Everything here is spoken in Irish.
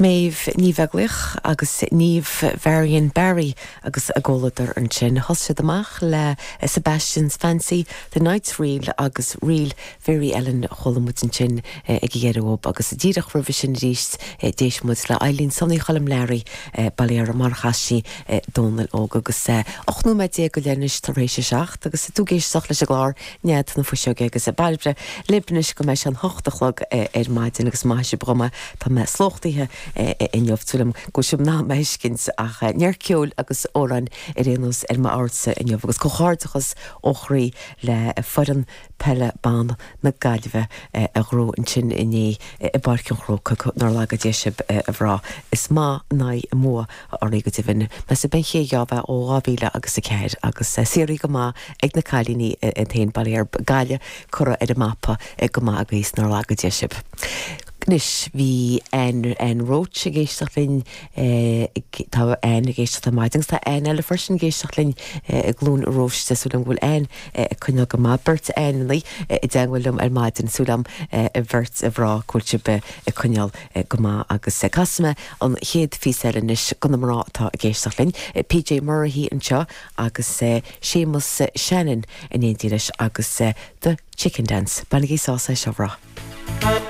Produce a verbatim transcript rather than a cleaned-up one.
Méabh Ní Bheaglaoich agus Niamh Varian Barry agus a gcomhluadar ansin. Thosaigh siad amach le Sebastian's Fancy, The Night's Reel agus Reel Mary Ellen chuala muid ansin ag deireadh agus díreach roimhe sin arís d'éist muid le Eileen Sonny Choilm Learaí Bailera mar chaisi Dónal Óg agus ocht nóiméad déag go leith tar éis a seacht agus tú ag éisteacht leis an gclár Nead na Fuiseoige agus bailbre libnis go mbeidh sé an hocht a chlog ar maidin agus maith sibh dhom tá mé slóchtaithe inniu tuigim go sib ná meiscint ach neart ceoil agus amhráin ar aon nós ar m'amharcsa inniu agus comhghairdeachas ó chroí le foireann peile ban na Gaillimhe a ghnóthaigh ansin inné i bPáirc an Chrócaigh nár laga Dia sibh a mhná is maith ná i mbua oraibh go deimhin meas ben ché bheith ó dhá mhíle agus a ceathair agus saothraithe go maith ag na cailíní an t-aon baile Gaillimh curtha ar an mapa go maith agus nár laga Dia sibh. Anois bhí an an Roach ag éisteacht linn tá an ag éisteacht ar maidin tá an eile freisin ag éisteacht linn i gCluain Róiste súil agam go bhfuil an ag coinneáil go maith beirt annaí i dteagmháil liom ar maidin súil agam a bheirt a mhná go bhfuil sibh ag coinneáil go maith agus casfaidh mé an chéad phíosa eile anois do na mná atá ag éisteacht linn. PJ Murray anseo agus Séamus Shannon in éindí leis agus The Chicken Dance. Bainigí sásamh as seo.